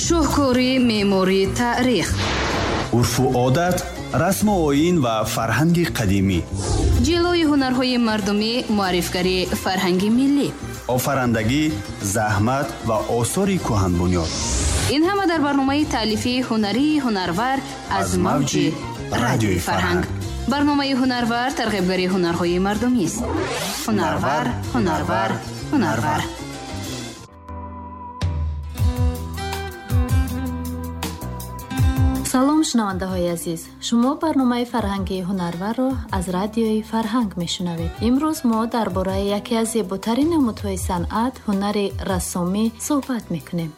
Шоҳкори меъмории таърих, урфу одат, расму оин ва фарҳанги қадимӣ, ҷилои ҳунарҳои мардумӣ, муаррифгарии фарҳанги миллӣ, офарандагӣ, заҳмат ва осори кӯҳанбунёд. Ин ҳама дар барномаи таълифии ҳунарии Ҳунарвар аз мавҷи Радиои Фарҳанг. Барномаи Ҳунарвар тарғибгари ҳунарҳои мардумист. Ҳунарвар, ҳунарвар, ҳунарвар. Салом, шунавандаҳои азиз. Шумо барномаи фарҳангии Ҳунарварро аз Радиои Фарҳанг мешунавед. Имрӯз мо дар бораи яке аз зеботарин намудҳои санъат, ҳунари рассомӣ суҳбат мекунем.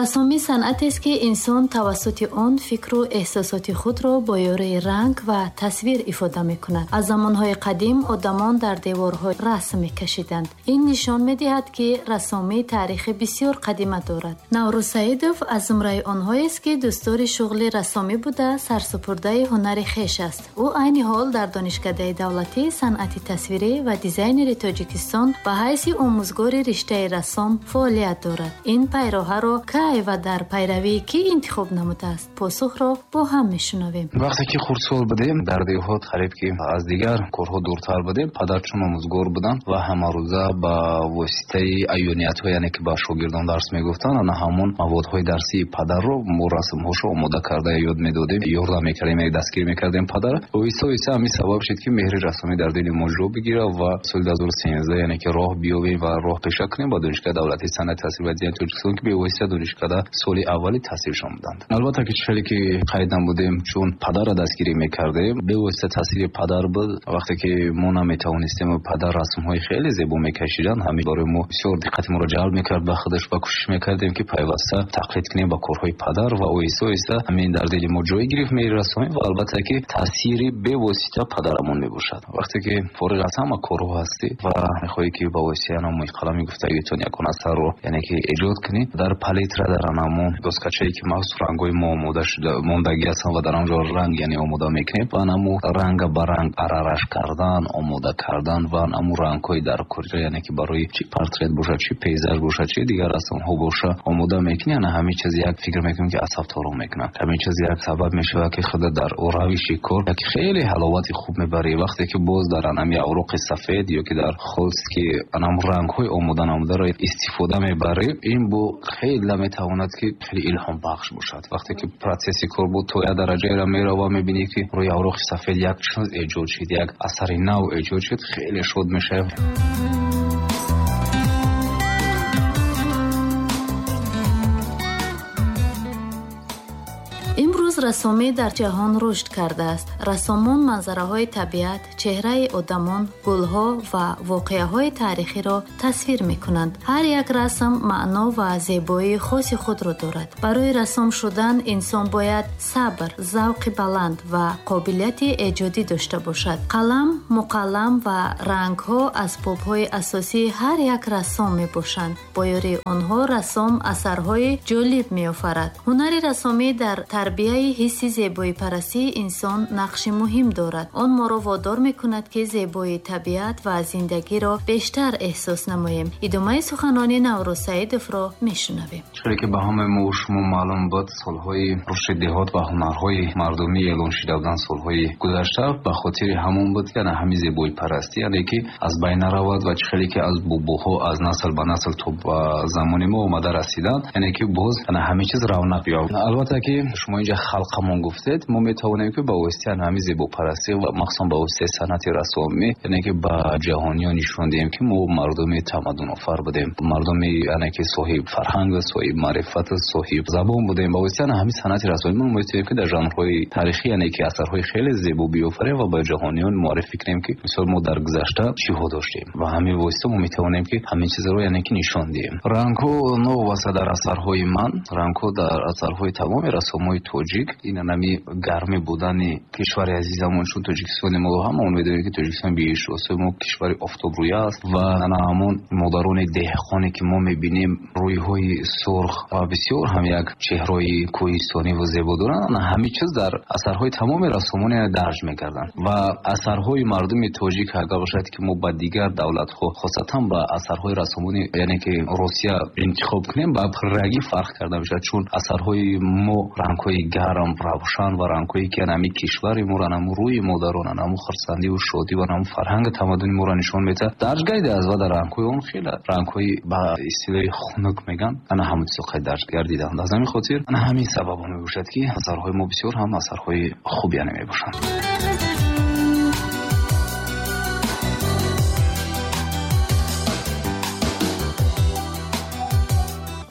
Рассомӣ санъатест, ки инсон тавассути он фикру эҳсосоти худро бо ёрии ранг ва тасвир ифода мекунад. Аз замонҳои қадим одамон дар деворҳо расм мекашиданд. Ин нишон медиҳад, ки рассомӣ таърихи бисёр қадима дорад. Наврӯз Саидов аз зумраи онҳоест, ки дӯстдори шуғли рассомӣ буда, сарсупурдаи ҳунари хеш аст. Ӯ айни ҳол дар Донишкадаи давлатии санъати тасвирӣ ва дизайнери Тоҷикистон ба ҳайси омӯзгори риштаи рассом фаъолият дорад. Ин пайроҳаро кай ва дар пайравии кӣ интихоб намудааст? Посухро бо ҳам мешунавем. Вақте ки хурдсол будем, дар деҳот қариб ки аз дигар корҳо дуртар будем, падар чун омӯзгор буданд ва ҳамарӯза ба воситаи аёниятҳо, яъне ки ба шогирдон дарс мегуфтанд, ана ҳамон маводҳои дарсии падарро мо расмҳошро омода карда ёд медодем, ёрдам мекардем, яъне дастгирӣ мекардем падарро. Оҳиста оҳиста ҳамин сабаб шуд, ки меҳри рассомӣ дар дили мо ҷо бигирад ва соли 2013, яъне ки роҳ биёбем ва роҳ пеша кунем ба Донишгоҳи давлатии санъати тасвир ва дизайни Тоҷикистон, ки бевосита донишкада соли аввали таҳсилшон буданд. Албатта ки хеле ки қайд намудем, чун падарро дастгирӣ мекардем, бевосита таъсири падар буд. Вақте ки мо наметавонистем, падар расмҳои хеле зебо мекашиданд, ҳамин барои мо бисёр диққати моро ҷалб мекард ба худаш ва кӯшиш мекардем, ки пайваста тақлид кунем ба корҳои падар ва оҳиста оҳиста ҳамин дар дили мо ҷой гирифт меҳри рассомӣ ва албатта ки таъсири бевосита падарамон мебошад. Вақте ки фориғ аз ҳама корҳо ҳастӣ ва мехоҳӣ, ки ба воситаи анамои қалами гуфтагитон ягон асарро, яъне ки эҷод кунӣ, дар палитра, дар анамо доскачае, ки махсус рангҳои мо омода шуда мондагӣ ҳастанд ва дар он ҷо ранг, яъне омода мекунем ва анамо ранга ба ранг арараш кардан, омода кардан ва анамо рангҳои дар куҷо, яъне ки барои чи портрет бошад, чи пейзаж бошад, чи дигар расмҳо бошад, омода мекунӣ. Ана ҳамин чиз як фикр мекунем, ки асабторо мекунад. Ҳамин чиз як сабаб мешавад, ки худа дар равиши кор як хеле ҳаловати хуб мебарӣ. Вақте ки боз дар анами авроқи сафед ё ки дар холст, ки анам рангҳои омода намударо истифода мебарӣ, ин бо хеле метавонад, ки хеле илҳомбахш бошад. Вақте ки процесси кор буд то як дараҷаеро мерава, мебинӣ, ки рӯи авроқи сафед як чиз эҷод шуд, як асари нав эҷод шуд, хеле шод мешавӣ. Имрӯз рассомӣ дар ҷаҳон рушд кардааст. Рассомон манзараҳои табиат, чеҳраи одамон, гулҳо ва воқеаҳои таърихиро тасвир мекунанд. Ҳар як расм маъно ва зебоии хоси худро дорад. Барои рассом шудан инсон бояд сабр, завқи баланд ва қобилияти эҷодӣ дошта бошад. Қалам, муқаллам ва рангҳо асбобҳои асосии ҳар як рассом мебошанд. Бо ёрии онҳо рассом асарҳои ҷолиб меофарад. Ҳунари рассомӣ дар тарбияи ҳисси зебоипарастии инсон нақши муҳим дорад. Он моро водор мекунад, ки зебоии табиат ва зиндагиро бештар эҳсос намоем. Идомаи суханони Наврӯз Саидовро мешунавем. Чизе ки ба ҳамаи мо шумо маълум буд, солҳои рушди деҳот ва ҳунарҳои мардумӣ эълон шуда буданд солҳои гузашта, ба хотири ҳамон буд, ки ана ҳамин зебоипарастӣ, яъне ки аз байн наравад ва чӣ хеле ки аз бобоҳо аз насл ба насл то ба замони мо омада расиданд, яъне ки боз ана ҳамин чиз равнақ ёфт. Албатта ки шумо инҷа халқамон гуфтед, мо метавонем, ки ба воситаи ҳамин зебопарастӣ ва махсусан ба воситаи санъати рассомӣ, яъне ки ба ҷаҳониён нишон диҳем, ки мо мардуми тамаддунофар будем, мардуми, яъне ки соҳиб фарҳанг, соҳиб маърифат, соҳиб забон будем. Ба воситаи ҳамин санъати рассомӣ мо метавонем, ки дар жанрҳои таърихӣ, яъне ки асарҳои хеле зебо биёфарем ва ба ҷаҳониён муаррифӣ кунем, ки мисол мо дар гузашта чиҳо доштем ва ҳамин восита мо метавонем, ки ҳамин чизро, яъне ки нишон диҳем. Рангҳо новобаста дар асарҳои ман, рангҳо дар асарҳои тамоми рассомҳои тоҷик тоҷик ин анами гармӣ будани кишвари азизамон, чун Тоҷикистони мо ҳама он медонем, ки Тоҷикистон биҳиштосои мо кишвари офтобрӯя аст ва ана ҳамон модарони деҳқоне, ки мо мебинем, рӯйҳои сурх ва бисёр ҳам як чеҳраи кӯҳистонӣ ва зебо доранд, ана ҳамин чиз дар асарҳои тамоми рассомон дарҷ мекарданд. Ва асарҳои мардуми тоҷик агар бошад, ки мо ба дигар давлатҳо, хосатан ба асарҳои рассомони, яъне ки Русия интихоб кунем, ба пуррагӣ фарқ карда мешавад, чун асарҳои мо рангҳои гарм, равшан ва рангҳое, ки анами кишвари моро, анаму рӯи модарон, анаму хурсандиву шодӣ ва анаму фарҳанги тамаддуни моро нишон медиҳад, дарҷ гардидааст ва дар рангҳои он хеле рангҳои ба истилоҳи хунук мегӯянд, ана ҳамон чизо қайд дарҷ гардиданд. Аз ҳамин хотир ана ҳамин сабаб мебошад, ки асарҳои мо бисёр ҳам асарҳои хуб яъне мебошанд.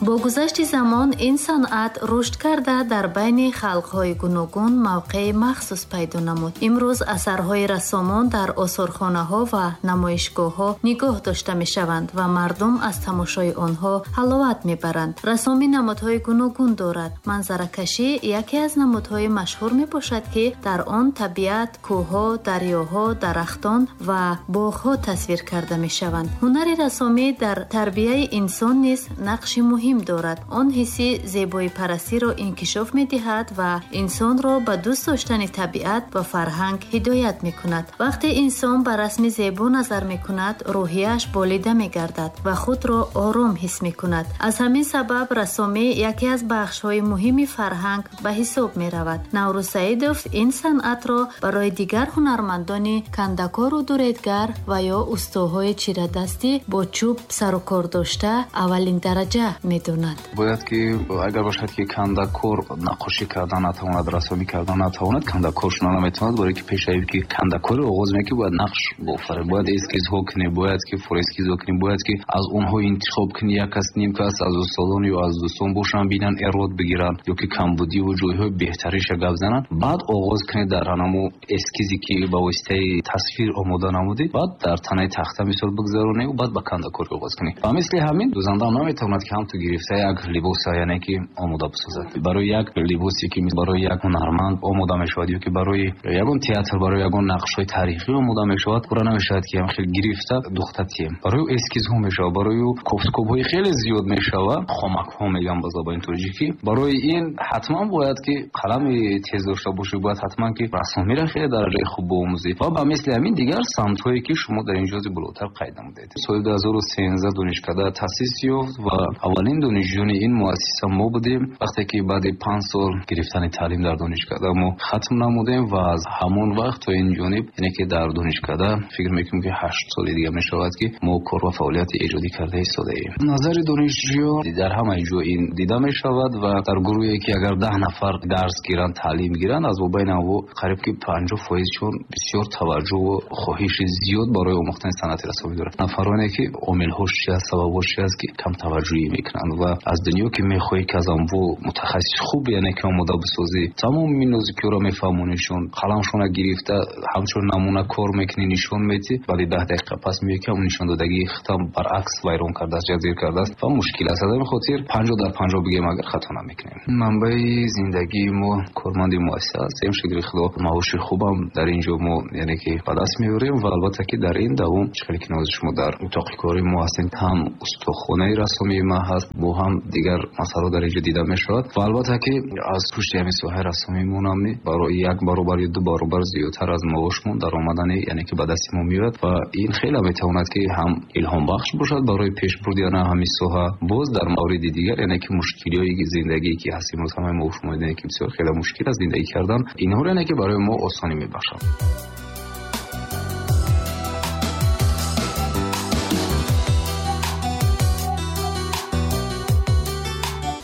Бо гузашти замон ин санъат рушд карда, дар байни халқҳои гуногун мавқеи махсус пайдо намуд. Имрӯз асарҳои рассомон дар осорхонаҳо ва намоишгоҳҳо нигоҳ дошта мешаванд ва мардум аз тамошои онҳо ҳаловат мебаранд. Рассомӣ намудҳои гуногун дорад. Манзаракашӣ яке аз намудҳои машҳур мебошад, ки дар он табиат, кӯҳҳо, дарёҳо, дарахтон ва боғҳо тасвир карда мешаванд. Ҳунари рассомӣ дар тарбияи инсон низ нақши муҳим дорад. Он ҳисси зебоипарастиро инкишоф медиҳад ва инсонро ба дӯст доштани табиат ва фарҳанг ҳидоят мекунад. Вақте инсон ба расми зебо назар мекунад, рӯҳияш болида мегардад ва худро ором ҳис мекунад. Аз ҳамин сабаб рассомӣ яке аз бахшҳои муҳими фарҳанг ба ҳисоб меравад. Наврӯз Саидов ин санъатро барои дигар ҳунармандони кандакору дуредгар ва ё устоҳои чирадастӣ бо чӯб сарукор дошта аввалин дараҷа медонад. Бояд ки агар бошад, ки кандакор наққошӣ кардан натавонад, рассомӣ кардан натавонад, кандакор шуда наметавонад, барои ки пешаи ки кандакори оғоз мекунӣ, бояд нақш бофарӣ, бояд эскизҳо кунӣ, бояд ки форескизҳо кунӣ, бояд ки аз онҳо интихоб кунӣ, як кас, ним кас аз устодон ё аз дӯстон бошанд, бинанд, эрод бигиранд ё ки камбудиву ҷойҳои беҳтариша гап зананд, баъд оғоз кунӣ дар ҳанамо эскизе, ки ба воситаи тасвир омода намудӣ, баъд дар танаи тахта мисол бигзаронӣ, баъд ба кандакорӣ оғоз кунӣ. Ва мисли ҳамин дӯзанда наметавонад, ки ҳам ту гирифта як либоса, яъне ки омода бисозад. Барои як либосе, ки барои як ҳунарманд омода мешавад ё ки барои ягон театр, барои ягон нақшҳои таърихӣ омода мешавад, пурра намешавад, ки хел гирифта духта тием. Барои эскизҳо мешавад, барои кофткобҳои хеле зиёд мешавад, хомакҳо мегӯям ба забони тоҷикӣ. Барои ин ҳатман бояд, ки қалами тез дошта бошӣ, бояд ҳатман ки рассомиро хеле дараҷаи хуб биомӯзӣ ва ба мисли ҳамин дигар самтҳое, ки шумо дар ин ҷози болотар қайд намудед. Соли 2013 донишкада таъсис ёфт ва аввалин донишҷӯёни ин муассиса мо будем. Вақте ки баъди 5 сол гирифтани таълим дар донишкада мо хатм намудем ва аз ҳамон вақт то ин ҷониб, яъне ки дар донишкада фикр мекунем, ки 8 соли дига мешавад, ки мо кор ва фаъолияти эҷодӣ карда истодаем. Назари донишҷӯён дар ҳамаи ҷо ин дида мешавад ва дар гурӯҳе, ки агар 10 нафар дарс гиранд, таълим гиранд, аз бобайни онҳо қариб ки 50%шон бисёр таваҷҷӯҳу хоҳиши зиёд барои омӯхтани санъати рассомӣ доранд. Нафароне, ки омилҳош чи аст, сабабҳош чи аст, ки кам таваҷҷӯҳӣ мекунанд ва аз дунё ки мехоҳӣ, ки аз онву мутахассиси хуб, яъне ки омода бисозӣ, тамоми нозикиҳоро мефаҳмонишон, қаламшона гирифта ҳамчун намуна кор мекунӣ, нишон медиҳӣ, баъди 10 дақиқа пас меоӣ, ки ҳамон нишондодагии худам баръакс вайрон кардааст, ҷазир кардааст ва мушкил аст. Аз ҳамин хотир 50 дар 50 бигем, агар хато намекунем. Манбаи зиндагии мо корманди муассиса ҳастем. Шукри Худо, маоши хубам дар ин ҷо мо, яъне ки ба даст меорем ва албатта ки дар ин давом, чӣ хеле ки нози шумо дар утоқи кори мо ҳастем, ҳам устохонаи рассомии ма ҳаст, бо ҳам дигар масъалаҳо дар ин ҷо дида мешавад ва албатта ки аз пушти ҳамин соҳаи рассомимонам барои як баробар ё ду баробар зиёдтар аз маошмон даромадани, яъне ки ба дасти мо меояд ва ин хеле метавонад, ки ҳам илҳомбахш бошад барои пешбурди ана ҳамин соҳа. Боз дар мавриди дигар, яъне ки мушкилиҳои зиндагие, ки ҳаст имрӯз, ҳамаи мо шумо медонем, ки бисёр хеле мушкил аст зиндагӣ кардан, инҳоро, яъне ки барои мо осонӣ мебахшад.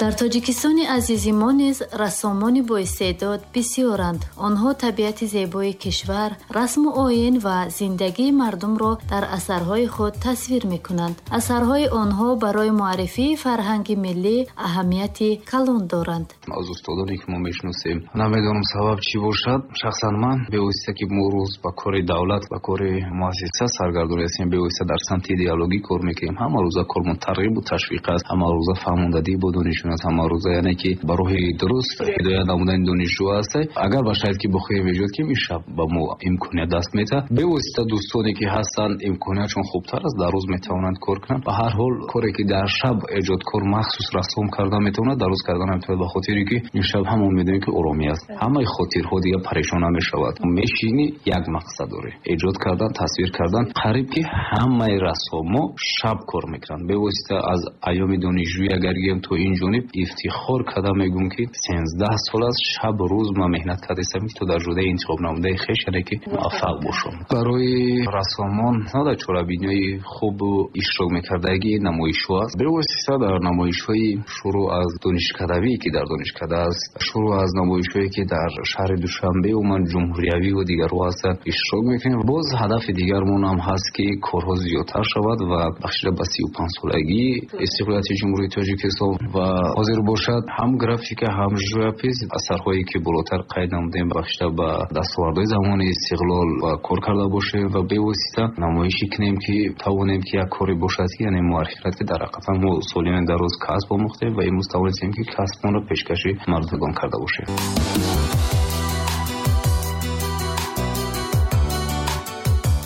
Дар Тоҷикистони азизи мо низ рассомони боистеъдод бисёранд. Онҳо табиати зебои кишвар, расму оин ва зиндагии мардумро дар асарҳои худ тасвир мекунанд. Асарҳои онҳо барои муаррифии фарҳанги миллӣ аҳамияти калон доранд. Аз устодоне, ки мо мешиносем, намедонам сабаб чӣ бошад, шахсан ман бевосита, ки мо рӯз ба кори давлат, ба кори муассиса саргардон ҳастем, бевосита дар самти идеологӣ кор мекунем, ҳама рӯза кормон тарғибу ташвиқ аст, ҳама рӯза фаҳмондадӣ бо донишҷӯён. мекунад ҳамарӯза, яъне ки ба роҳи дуруст ҳидоят намудани донишҷӯ аст. Агар ба шароит ки бихоҳем эҷод кунем, ин шаб ба мо имконият даст медиҳад. Бевосита дӯстоне ки ҳастанд, имкониятшон хубтар аст, дар рӯз метавонанд кор кунанд. Ба ҳар ҳол коре ки дар шаб эҷодкор махсус расом карда метавонад, дар рӯз карда наметавонад, ба хотире ки ин шаб ҳамон медонем ки оромӣ аст. Ҳамаи хотирҳо дига парешон намешавад. Мешинӣ як мақсад дорӣ: эҷод кардан, тасвир кардан. Қариб ки ҳамаи рассомо шаб кор мекунанд. Бевосита аз айёми донишҷӯӣ агар гирем то ин ҷониб, ифтихор карда мегӯм ки 13 сол аст шаб рӯз ман меҳнат кардаистам ки то дар ҷодаи интихоб намудаи хеш, яъне ки муваффақ бошам. Барои рассомон на дар чорабиниҳои хубу иштирок мекардагӣ намоишҳо аст. Бевосита дар намоишҳои шурӯъ аз донишкадавӣ ки дар донишкада аст, шурӯъ аз намоишҳое ки дар шаҳри Душанбе умуман ҷумҳуриявӣ ва дигарҳо ҳастанд иштирок мекунем. Боз ҳадафи дигармон ҳам ҳаст ки корҳо зиёдтар шавад ва бахшида ба 35 солагии истиқлолияти Ҷумҳурии Тоҷикистон ва ҳозир бошад ҳам графика, ҳам живопис асарҳое ки болотар қайд намудем бахшида ба дастовардҳои замони истиқлол ва кор карда бошем ва бевосита намоишӣ кунем ки тавонем ки як коре бошад ки яъне муаррифӣ кунад ки дар ҳақиқатан мо солиёни дароз касб омӯхтем ва имрӯз тавонистем ки касбмонро пешкаши мардумон карда бошем.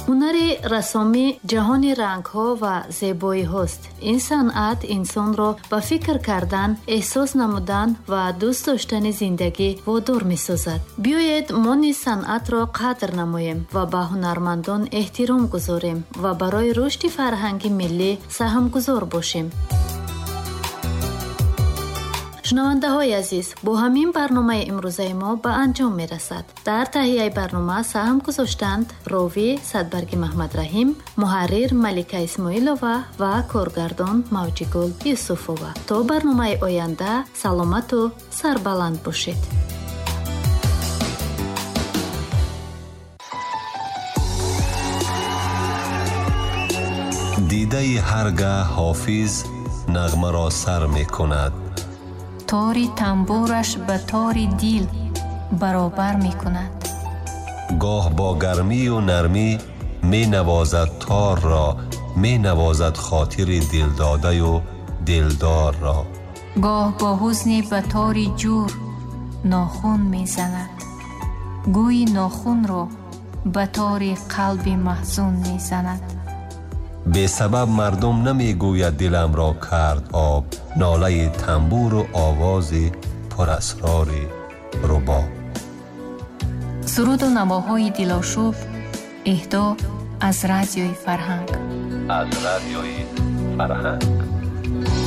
Ҳунари рассомӣ ҷаҳони рангҳо ва зебоиҳост. Ин санъат инсонро ба фикр кардан, эҳсос намудан ва дӯст доштани зиндагӣ водор месозад. Биёед мо низ санъатро қадр намоем ва ба ҳунармандон эҳтиром гузорем ва барои рушди фарҳанги миллӣ саҳмгузор бошем. Шунавандаҳои азиз, бо ҳамин барномаи имрӯзаи мо ба анҷом мерасад. Дар таҳияи барнома саҳм гузоштанд ровӣ Садбарги Маҳмадраҳим, муҳаррир Малика Исмоилова ва коргардон Мавҷигул Юсуфова. То барномаи оянда саломату сарбаланд бошед. Дидаи ҳаргаҳ ҳофиз нағмаро сар мекунад. Тори тамбураш ба тори дил баробар мекунад. Гоҳ бо гармию нармӣ менавозад торро, менавозад хотири дилдодаю дилдорро. Гоҳ бо ҳузне ба тори ҷур нохун мезанад, гӯйи нохунро ба тори қалби маҳзун мезанад. Бесабаб мардум намегӯяд диламро кард об, нолаи тамбуру овози пурасрори рубоб. Суруду навоҳои дилошуб эҳдо аз радиои Фарҳанг. Аз радиои Фарҳанг.